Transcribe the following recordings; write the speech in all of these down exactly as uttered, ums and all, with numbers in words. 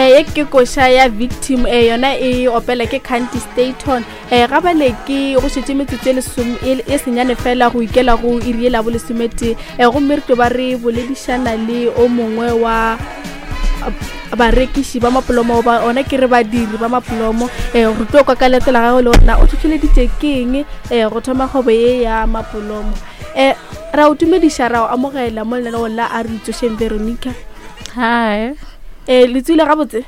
um ye ke koša ya Victim, um yona e opela ke Canty Staton. um ga bale ke go šetše metsotso e lesome- e e senyane fela go ikela go iri ye la bo lesometee, um gomme re tlo ba re boledišana le o mongwe wa barekiši ba mapolomo, ba ona ke re badiri ba mapolomo. um re tlo kwa ka leeto la gagwe le gore na o tlhotlheleditše ke eng um go thoma kgwebo ye ya mapolomo. um ra o dumediša, ra o amogela mo lenaneong la A Re Itsošeng, Veronica. Hi. um le tswile gabotse?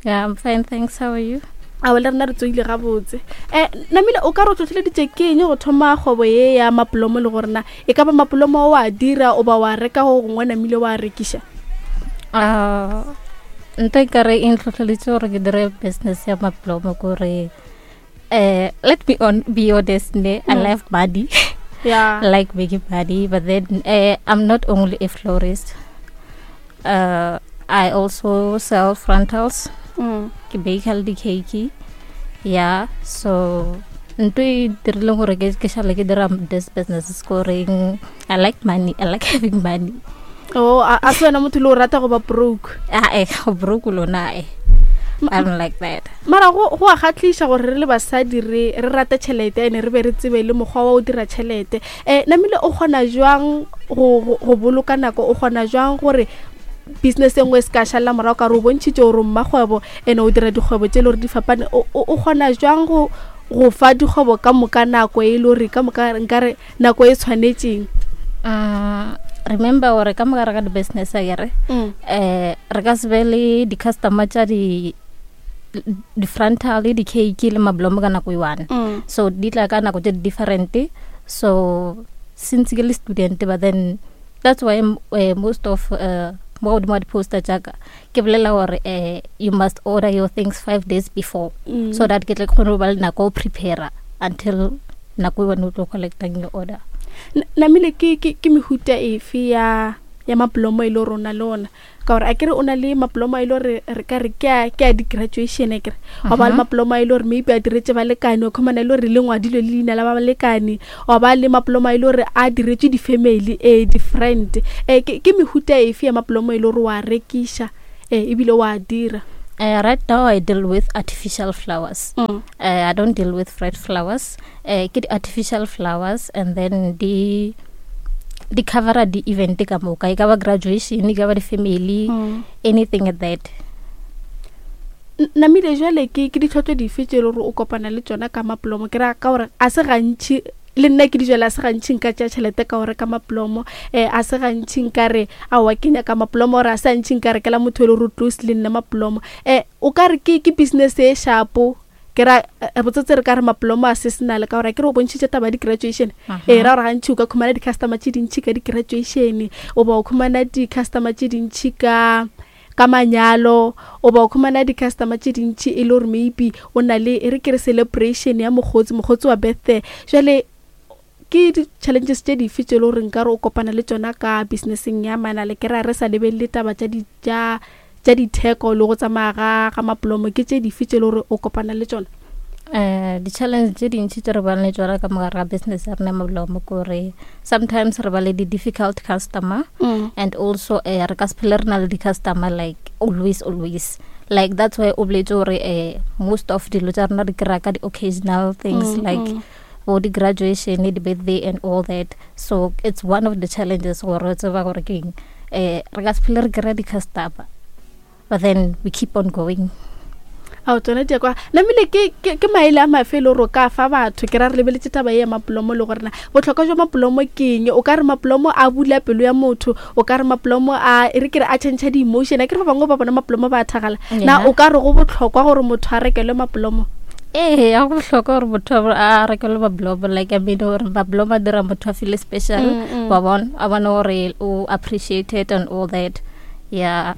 Yeah, I'm fine, thanks. How are you? Ao, le rena re tsoile gabotse. um namile o ka re o tlhotlheleditše ke eng go thoma kgwebo ye ya mapolomo, le gore na e ka ba mapolomo o a dira o ba wa reka go gongwe namile wa rekiša? Uh, nto e kare e ntlhotlheleditše gore ke dire business ya maplomo kore uh, let me on, be honest ne, I Mm. love money. Ya. I like making money, but then uh, I'm not only a florist. Uh, I also sell frontals. Mm. Ke bake le di-cake. Yeah, so ntho e dirileng gore ke ke šale ke dira this business is goreng I like money. I like having money. O a a se wena motho le o rata go ba broke? Ah, eh, go broke lona eh. I don't like that. Mara go go a kgatlhiša gore re le basadi re re rate tšhelete, ene re be re tsebe le mokgwa wa o dira tšhelete. um namile o kgona jwang go go- go boloka nako? O kgona jwang gore business e nngwe e se ka šalela morago, ka re o bontšhitše gore o mmakgwebo ene o dira dikgwebo tše e le gore di fapane? O o- o kgona jwang go go fa dikgwebo ka moka nako e le gore ka moka nkare nako e tshwanetšeng? Mm, remember gore ka mogare ga di-business akere, Mm. eh re ka se be le di-customer tša di di-frontal le di-cake le mablomo ka nako e one. Mm. So di tla ka nako tse di different. So since ke le student, but then that's why m- eh, most of uh, mo godimo ga di-poster jaaka ke bolela gore eh, you must order your things five days before, Mm. so that ke tle ke kgone go ba le nako go prepare until nako e wena o tlo collectang your order. N- namile ke ke ke mehuta efe ya ya maplomo e le gore o na le ona? Ka gore a kere o na le maplomo a e le gore re ka re ke a ke a di-graduation, a kere wa ba le Mhm. maplomo a e le gore maybe a diretse balekane, o khumana e le gore le ngwadilwe le leina la ba balekane, wa ba le maplomo a e le gore a diretswe di-family, e di-friend. um ke ke mehuta efe ya maplomo e le gore wa rekiša um ebile wa dira? Uh, right now I deal with artificial flowers. Mm. Uh, I don't deal with fresh flowers. Uh, ke di-artificial flowers, and then di di covera di-event ka moka. E ka ba graduation, e ka ba di-family, Mm. anything like that. N- namile jwale ke ke ditlhotlo dife tše e le gore o kopana le tsona ka maplomo? Ke ra ka gore a se gantši le nna ke dijwale, a se gantši nka tšea tšhelete ka go reka maplomo, um a se gantši nka re aowa ke nyaka maplomo, ore a se gantši nka rekela motho e le gore o close le nna maplomo. um o ka re ke ke business e shapo? Ke ra eh, botsotse re ka re maplomo a seasonal, ka gore a ke re o bontšhitše taba ya di-graduation, ee ra gore gantši o ka khumana di-customer tše dintšhi ka di-graduation, o ba o khumana di-customer tše dintšhi ka ka manyalo, o ba o khumana di-customer tše dintšhi e le gore maybe o na le e re ke re celebration ya mokgotsi mokgotsi wa birthday. Jwale ke di-challenges tše dife tše e le gore nkare o kopana le tšona ka businesseng ya manale? Ke ra re sa lebelele taba tša di tša tša ditheko le go tsamaya ga ga maplomo, ke tše dife tše e le gore o kopana le tšona? Uh, di-challenge tše dintši tše re bang le tsona ka mogare ga business ya rena ya mablomo kore sometimes re ba le di-difficult customer, mm. and also uh, re ka se phele re na le di-customer like always always. Like that's why o boletse gore uh, most of dilo tša rena re kry-a ka di-occasional things, Mm, like mm. bo di-graduation, di-birthday and all that. So it's one of the challenges gore re tseba gore ke eng, eh re ka se phele re kry-a di-customer, but then we keep on going. Ao, tsona di ya kwa. Namile ke ke ke maele a mafe e le gore o ka fa batho? Ke ra re lebeletse taba ye ya maplomo le gore na botlhokwa jwa maplomo ke eng. O ka re maplomo a bula pelo ya motho, o ka re maplomo a e re ke re a change di-emotion, a ke re ba bangwe ba bona maplomo ba a thagala na? Yeah. O ka re go botlhokwa gore motho a rekelwe maplomo? Ee, ya go bohlokwa gore motho a a rekelwe mablomo. Like, I mean, gore mablomo a dira motho a feel special, Mm, mm. wa bona, a bone gore o appreciated and all that, yeah.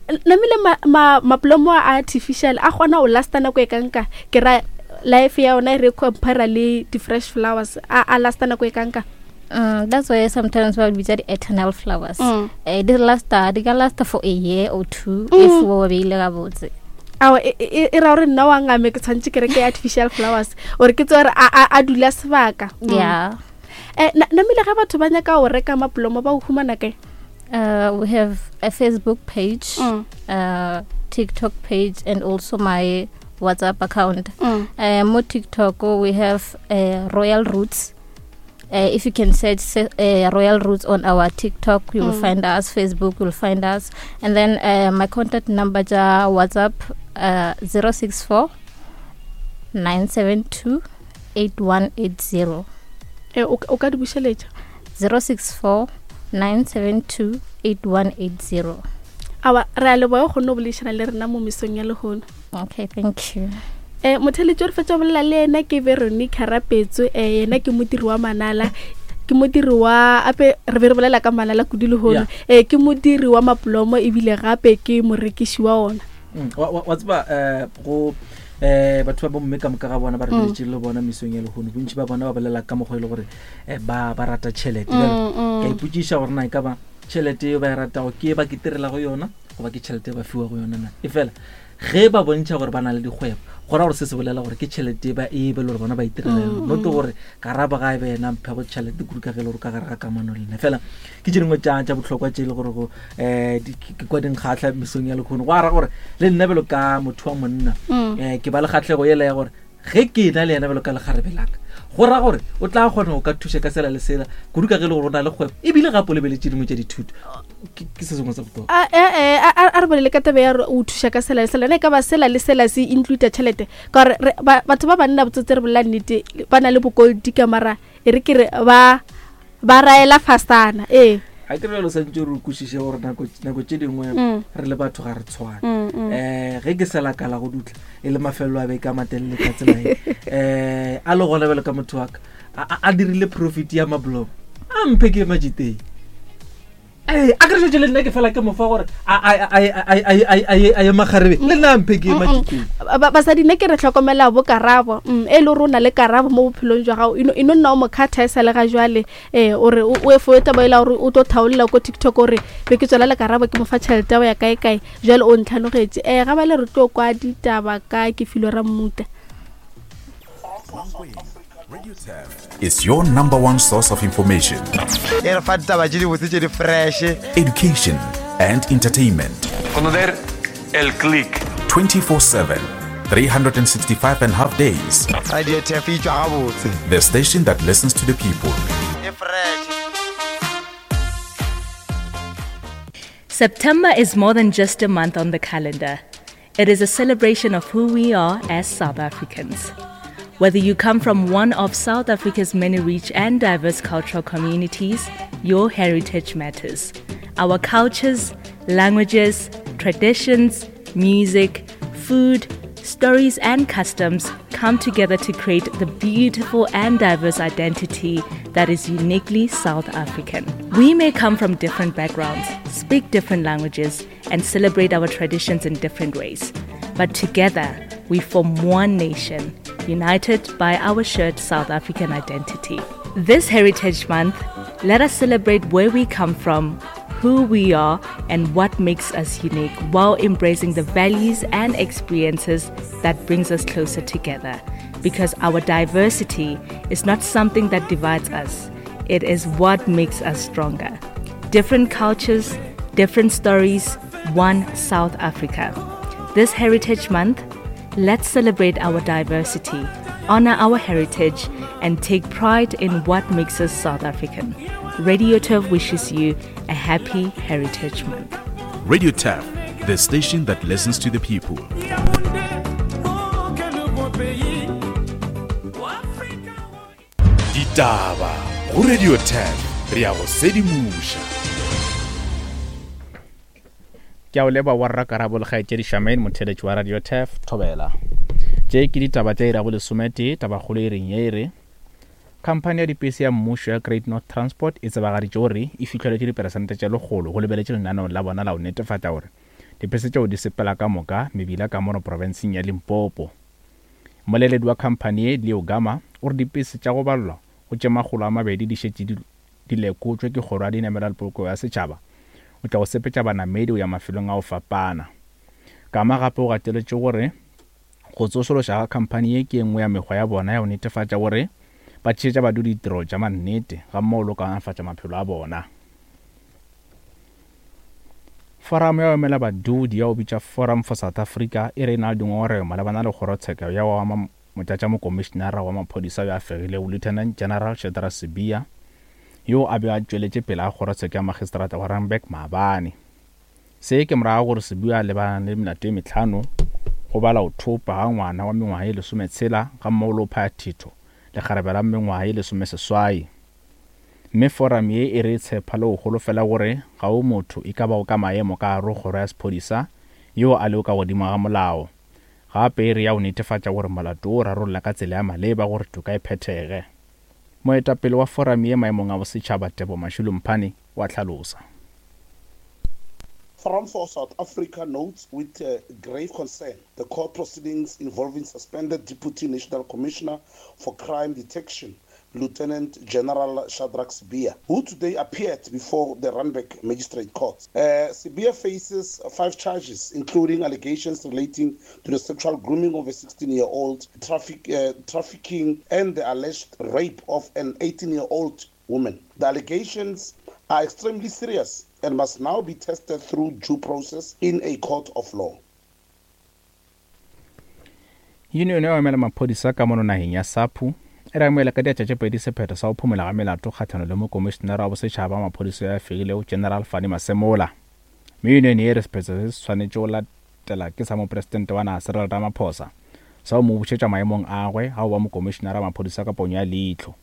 N- namile ma- ma- maplomo a artificial a kgona go lasta nako e kanka? Ke ra life ya ona e re compara le di-fresh flowers, a a lasta nako e kanka? Mm, that's why sometimes ba bitsa di-eternal flowers. Mm. Eh, di lasta di ka lasta for a year or two Mm. if o beile gabotse. Ao, e e- e ra gore nna wa ngame ke tshwanetse ke reke artificial flowers ore ke tse gore a a- a dula sebaka. Mm. Yeah. Eh, na- namile ge batho ba nyaka go reka maplomo ba o humana kae? Uh, we have a Facebook page. Mm. Uh, TikTok page and also my WhatsApp account. Mm. Uh, mo TikTok we have uh, Royal Roots. Uh, if you can search uh, Royal Roots on our TikTok, you will Mm. find us. Facebook, you will find us. And then uh, my contact number, ja WhatsApp, uh, zero six four nine seven two eight one eight zero. Eh, o o ka di bušeletša zero six four nine seven two eight one eight zero. Awa, re a leboga o kgonne go boledišana le rena mo mesong ya lehono. Okay, thank you. Um motheletši o re fetša go bolela le yena ke Veronica Rapetso, um yena ke modiri wa manala, ke modiri wa ape re be re bolela ka manala kudu lehono. Yeah. Um ke modiri wa maplomo ebile gape ke morekiši wa ona. Mm, wa wa- wa tseba eh go eh batho ba bomme ka moka ga bona ba re Mm. beletše le bona mesong ya lehono, bontši ba bona ba bolela ka mokgwa e le gore eh, ba ba rata tšhelete. Mm, Bjale mm. ka ipotšiša gore na e ka ba tšhelete eo ba e ratago ke e ba keterelago yona goba ke tšhelete e ba fiwago yona na. E fela ge ba bontšha gore ba na le dikgwebo, go ra gore se se bolela gore ke tšhelete ba e be le gore bona ba itirela yona, Mm, not mm. gore karabo ga e be yena mphego tšhelete kudu ka ge e le gore ka gare ga kamano le nna. Fela ke tše dingwe tša tša bohlokwa tše e le gore go um di- ke ke kwa dinkgatlha mesong ya lehono, go ara gore le nna bjalo ka motho wa monna Mm. um ke ba le kgatlhego ela ya gore ge ke na le yena bjalo ka lekgarebe laka, go ra gore o tla kgona go ka thuša ka sela le sela kudu ka ge e le gore o na le kgwebo ebile gape o lebeletše dingwe tša dithuto. Ke ke se sengwe sa bohlokwa. A eh, eh, a a- a re bolele ka taba ya gore o thuša ka sela le sela, na e ka ba sela le sela se include tšhelete? Ka gore re- ba- batho ba banna botsotse re bolela nnete, ba na le bokolodi ka mara e re ke re ba ba raela fasana. Ee. Ga ke re bjalo santse re kwešiše gore nako nako tše dingwe Mm. re le batho ga re tshwane. Mm, mm. um ge ke sela kala go dutla e le mafelelo a beke a matelele ka tsela e um a le gona bjalo ka motho wa ka a- a a dirile profit ya mablomo a mphe ke majiteng. Ee, a ke re šetše le nna ke fela ke mofa gore a- a- a- a- a- a- a- a- a ye makgarebe le nna a mphe ke ye majiteng. Ba- basadi nne ke re tlhokomela bo karabo, mm, e le gore o na le karabo mo bophelong jwa gago, e no e no nna o mo kgatha e sa le ga jwale, um ore o o e foe taba ela gore o tlo thaolela ko TikTok ore be ke tswela le karabo ke mo fa tšhelete ya go ya kae kae, jwale o ntlhanogetše. Um ga ba le re tlo kwa ditaba ka ke filwe Rammuta. Is your number one source of information, E re fa ditaba tše dibotse tše di fresh. education, and entertainment. Conocer el click. twenty-four seven, three hundred sixty-five and a half days. Radio Turf e tšwa gabotse. The station that listens to the people. E fresh. September is more than just a month on the calendar. It is a celebration of who we are as South Africans. Whether you come from one of South Africa's many rich and diverse cultural communities, your heritage matters. Our cultures, languages, traditions, music, food, stories, and customs come together to create the beautiful and diverse identity that is uniquely South African. We may come from different backgrounds, speak different languages, and celebrate our traditions in different ways. But together, we form one nation, united by our shared South African identity. This Heritage Month, let us celebrate where we come from, who we are, and what makes us unique while embracing the values and experiences that brings us closer together. Because our diversity is not something that divides us, it is what makes us stronger. Different cultures, different stories, one South Africa. This Heritage Month, let's celebrate our diversity, honor our heritage, and take pride in what makes us South African. Radio Turf wishes you a happy Heritage Month. Radio Turf, the station that listens to the people. Ditaba go Radio Turf, re a go sedimoša. Ke a o leba wa rra Karabo le kgaetšedi Charmaine, motheletši wa Radio Turf Thobela. Tše ke ditaba tša iri ya bolesometee, tabakgolo e reng ye e re khamphani ya dipese ya mmušo ya Great North Transport e tsebagaditše gore e fihleletše diperesente tše lekgolo go lebeletše lenaneo la bona la go netefatša gore dipese tšeo di sepela ka moka mebila ka mono profenseng ya Limpopo. Mmoleledi wa khamphani ye Leo Gama o re dipese tša go balelwa go tše makgolo a mabedi di šetše di di lekotšwe ke kgoro ya dinamelwa le poloko ya setšhaba o tla go sepetša banamedi go ya mafelong a go fapana. Gama gape o gateletše gore go tsošološa ga khamphani ye ke e nngwe ya mekgwa ya bona ya go netefatša gore ba tšeetša badudi ditiro tša mannete ga mmogo le go kaonafatša maphelo a bona. Foramo ya emela badudi ya go bitša Forum for South Africa e re e na le dingongorego malebana le kgorotsheko ya wa motlatšamokomišenara wa maphodisa yo a fegilego Lieutenant General Shadrack Sibiya yo a be a tšweletše pele ga kgorotsheko ya magistrata wa Randburg maabane. Se ke morago gore Sibiya a lebana le melato ye mehlano go bala go thopa ga ngwana wa mengwaga ye lesometshela ga mmogo le go phaya thitho lekgarebe la mengwaga ye lesomeseswai. Mme forum ye e re tshepa le go holofela gore ga o motho e ka bago ka maemo ka gare go kgoro ya sephodisa yo a lego ka godimo ga molao. Gape e re ya go netefatša gore molato o rarolla ka tsela ya maleba gore toka e phethege. Moetapele wa forum ye maemong a bosetšhaba Tebo Mashilo Mphane wa hlalosa. Forum for South Africa notes with uh, grave concern the court proceedings involving suspended Deputy National Commissioner for Crime Detection, Lieutenant General Shadrack Sibiya, who today appeared before the Randburg Magistrate Court. Uh, Sibiya faces five charges, including allegations relating to the sexual grooming of a sixteen-year-old, traffic, uh, trafficking, and the alleged rape of an eighteen-year-old woman. The allegations are extremely serious and must now be tested through due process in a court of law. Union ya emela maphodisa ka mono nageng ya SAPU e re amohela ka diatla tše pedi sephetho sa go phumola ga melato kgahlano le mokomišenara wa bosetšhaba wa maphodisa ya fegilego General Fannie Masemola. Mme union ye re sephetho se se swanetše go latela ke sa mopresidente wa naga Cyril Ramaphosa sa go mo bušetša maemong a gagwe ga go ba mokomišenara wa maphodisa ka ponyo ya leihlo.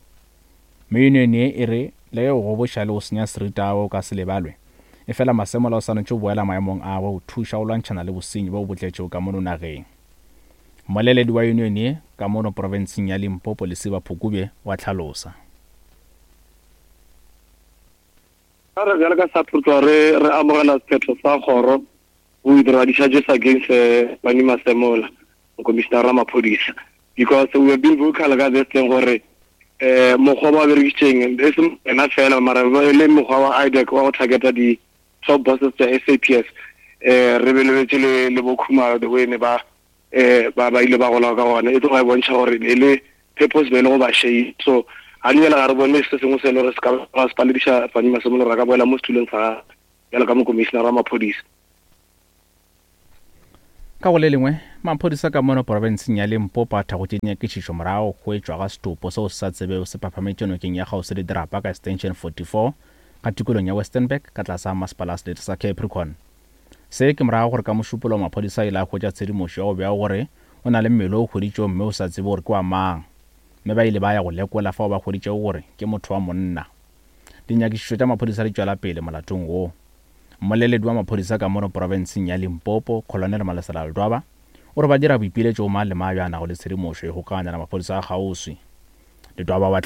Mme union ye e re le ge go goboša le go senya seriti gagwe o ka se lebalwe, efela Masemola o swanetše go boela maemong a gagwe go thuša go lwantšhana le bosenyi bo bo tletšego ka mono nageng. Mmoleledi wa union ye ka mono profenseng ya Limpopo Lesiba Phukubye wa hlalosa. Re bjalo ka SAPU re re amogela sephetho sa kgoro go withdraw di-charges against Fannie Masemola, mokomišenara wa maphodisa, because we have been vocal ka this thing gore eh mokgwa ba berekisitseng e se ena fela mara le mokgwa wa I D E C wa go targeta di top bosses tsa S A P S eh re belebetse le le bokhumalo the way ne ba eh ba ba ile ba gola ka gona e tloga e bontšha gore e le purpose be le go ba shame. So ga di ga re bone se sengwe se le gore se ka ba se palediša Fannie Masemola gore a ka boela mo setulong sa bjalo ka mokomišenara wa maphodisa. Ka go le lengwe, maphodisa ka mono profenseng ya Limpopo a thakgotše dinyakišišo morago go hwetšwa ga setopo seo se sa tsebego se phaphametše nokeng ya kgauswi le dirapa ka Extension forty-four ka tikolong ya Westernburg ka tlase ga masepala wa selete sa Capricorn. Se ke morago gore ka mošupologo maphodisa a ile a hwetša tshedimošo ya go bea gore o na le mmele o hweditšwego mme o sa tsebe gore ke wa mang, mme ba ile ba ya go lekola fao ba hweditšego gore ke motho wa monna. Dinyakišišo tša maphodisa di tšwela pele molatong wo. Mmoleledi wa maphodisa ka mono profenseng ya Limpopo, Colonel Malesela Ledwaba, o re ba dira boipiletšo go mang le mang yo a nago le tshedimošo e kgokaganya le maphodisa a kgauswi. Ledwaba wa